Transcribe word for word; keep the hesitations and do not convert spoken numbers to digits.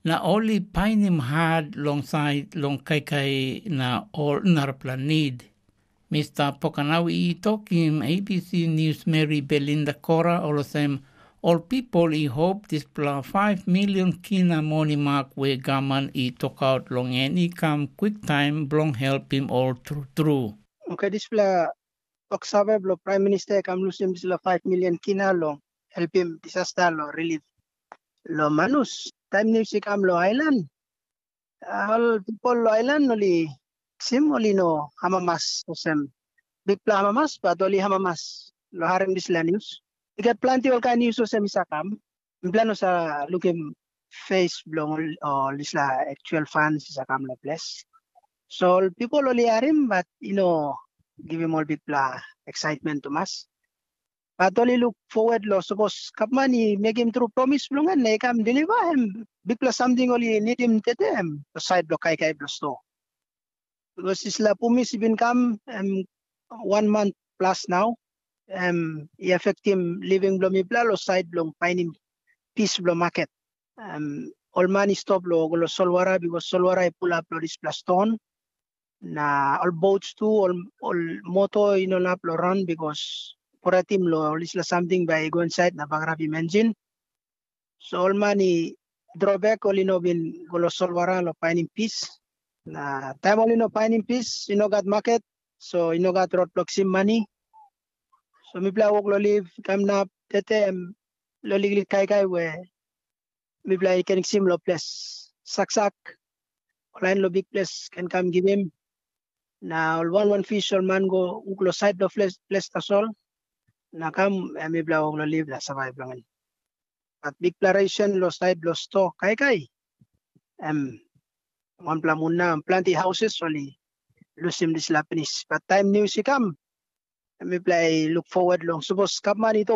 Na ol i painim hat long sait long kaikai na ol narapela nid. Mista Pokanau i tokim A B C News Mary Belinda Kora olsem, ol pipel i hop dispela five million kina moni mak we gavman i tokaut long en i kam kwiktaim bilong helpim ol tru tru. Oke, dispela toksave bilong Pram Minista i kam lusim dispela five million kina long helpim disasta long rilif long Manus. Taim nius i kam long ailan, ol pipel long ailan ol i kisim ol i no amamas olsem bikpela amamas, bat ol i amamas long harim dispela nius. I gat planti ol kain nius olsem i sa kam. Mipela no sa lukim fes bilong ol, ol dispela aktual fans i sa kam long ples. So ol pipel ol i harim, bat i no givim ol bikpela excitement tumas. Bat ol i luk forward long sapos gavman i mekim tru promis bilong en na i kam deliver em, bikpela samting ol i nidim tete em sait bilong kaikai bilong sto. Bikos dispela promis i bin kam em wan man plus nau, em i afektim living bilong mipela long sait bilong painim pis bilong maket. Em, ol man i stop long go long solwara, bikos solwara i pulap long dispela ston. Na ol boats tu, ol, ol moto i no inap long ran, bikos poratim long ol dispela samting bai i go insait na bagarapim enjin. So ol man i dropek, ol i no bin go long solwara long painim pis. Na taim ol i no painim pis, i no gat maket, so i no gat rot bilong kisim mani. So mipela wok long liv kam nap tete em long liklik kaikai we mipela i ken kisim long ples saksak, ol lain long bikples ken kam givim. Na ol wan wan fis ol man go wuk long sait bilong ples, ples tasol, na kam em mipela wok long liv na savaip long en. Bat bikpela resen long sait bilong sto kaikai, em wanpela mun na planti hauses ol i lusim dispela pinis. Bat taim nius i kam, mipela i luk forward long sapos gavman i tok